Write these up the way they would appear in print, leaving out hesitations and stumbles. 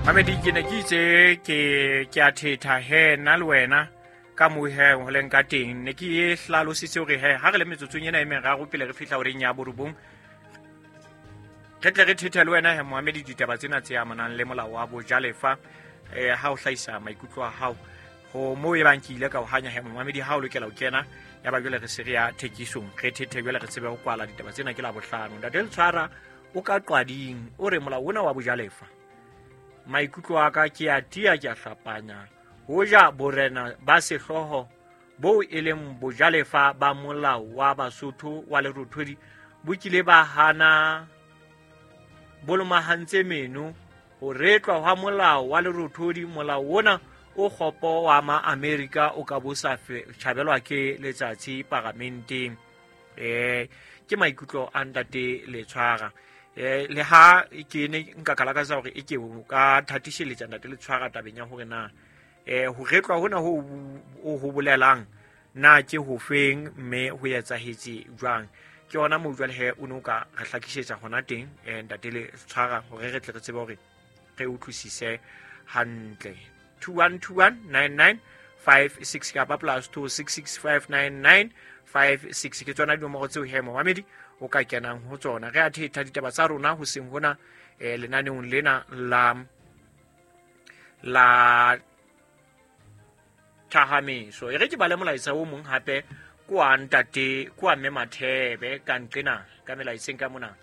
Mamedi, ke ne ke itse ke a thetha he nna le wena ka moo he ho leng ka teng. Ne ke e hlalositse hore he ha re le metsotsong ena e meraro pele re fihla horeng ya borobong, re tle re thethe le wena he moamedi ditaba tsena tse amanang le molao wa bojalefa. Ha o hlahisa maikutlo a hao ho moo e bang ke ile ka o hanya he momamedi, ha o lokela ho kena ya ba jwale re se re ya thekisong, re thethe jwale re tsebe ho kwala ditaba tsena. Ke la bohlano. Ntate Letshwara o ka Qwading o re molao ona wa bojalefa, maikutlo a ka ke a tia, ke a hlapanya, hoja borena ba sehlooho boo e leng bojalefa ba molao wa Basotho wa Lerothodi bo kile ba hana bo lomahantse meno ho retlwa hwa molao wa Lerothodi, molao ona o kgopo wa ma-Amerika o ka bo sa tjhabelwa ke letsatsi paramenteng. Ke maikutlo a ntate Letshwara. Le ha ke ne nka ka lakatsa hore e ke o ka thatisheletsa ntate Letshwara tabeng ya hore na ho retlwa hona ho o ho bolelang na ke ho feng, mme ho etsahetse jwang. Ke yona moo jwale he o ne o ka re hlakisetsa hona teng, ntate Letshwara, hore re tle re tsebe hore re utlwisise hantle. 21219956 kapa +266 59956 ke tsona dinomoro tseo he momamedi o ka kenang ho tsona. Re a thetha ditaba tsa rona ho seng hona lenaneong lena la thahameso. E re ke bale molaetsa o mong hape kwa ntate kwa mme Mathebe ka nqena ka melaetseng ka mona.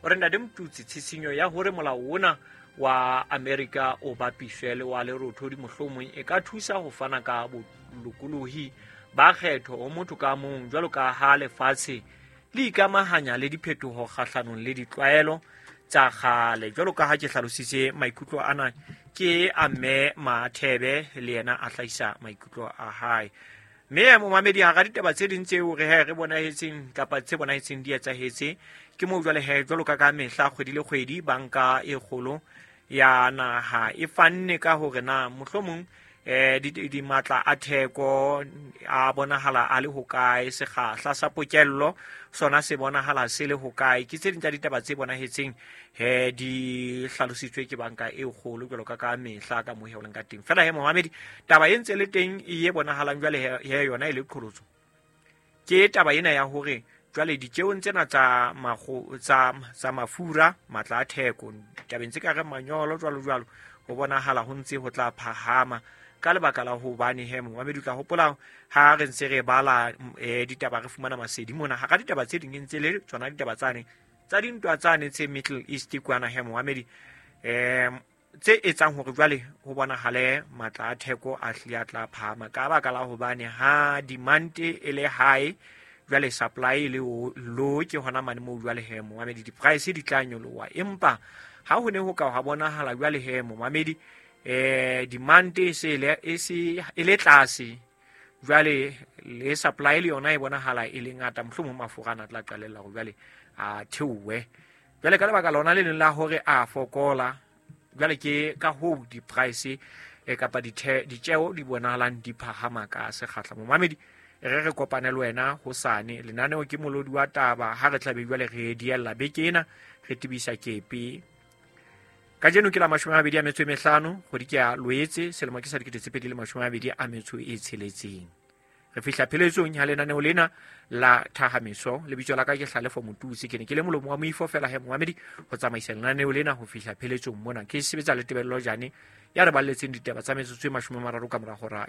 O re, ntate Motutsi, tshisinyo ya hore molao ona wa America o bapiswe le wa Lerothodi mohlomong e ka thusa ho fana ka bolokolohi ba kgetho ho motho ka mong, jwalo ka ha lefatshe le ikamahanya le diphetoho kgahlanong le ditlwaelo tsa kgale. Jwalo ka ha ke hlalositse, maikutlo ana ke a mme Mathebe, le yena a hlahisa maikutlo a hae. Mme momamedi, hara ditaba tse ding tseo re he re bonahetseng kapa tse bonahetseng di etsahetse ke moo jwale he jwalo ka mehla kgwedi le kgwedi banka e kgolo ya naha e fanne ka hore na mohlomong di matla a theko a bonahala a le hokae, sekgahla sa pokello sona se bonahala se le hokae. Ke tse ding tsa ditaba tse bonahetseng he di hlalositswe ke banka e kgolo jwalo ka mehla ka moo he o leng ka teng. Fela he momamedi, taba e ntse le teng e bonahalang jwale he yona e le qholotso ke taba ena ya hore jwale ditjeong tsena tsa tsa mafura, matla a theko tabeng tse ka reng manyolo jwalo jwalo, ho bonahala ho ntse ho tla phahama ka lebaka la hobane he momamedi o tla hopola ha re ntse re bala ditaba re fumana masedi mona hara ditaba tse ding ntse le tsona ditaba tsane tsa dintwa tsane tse Middle East kwana he momamedi, tse etsang hore jwale ho bonahale matla a theko a hlile a tla phahama ka baka la hobane ha demand e le high, jwale supply e le low, ke hona mane moo jwale he momamedi di-price di tla nyoloha. Empa ha ho ne ho ka ha bonahala jwale he momamedi demand e se e le tlase, jwale le supply le yona e bonahala e le ngata, mohlomong mafura ana a tla qalella hore jwale a theohe. Jwale ka lebaka lona le leng la hore a fokola, jwale ke ka hoo di-price kapa ditjeo di bonahalang di phahama ka sekgahla. Momamedi, re kopane le wena hosane. Lenaneo ke Molodi wa Taba, ha re tlabe jwale re diella beke ena re tebisa kepe. Kajeno ke la 25 kgwedi ke ya Loetse, selemo ke sa 2026. Re fihla pheletsong ya lenaneo lena la thahameso. Lebitso la ka ke Hlalefo Motutsi, ke ne ke le molomo wa moifo fela he momamedi ho tsamaisa lenaneo lena ho fihla pheletsong mona. Ke sebetsa le Tebello Jane ya re balletseng ditaba tsa metsotso e 30 ka mora hora.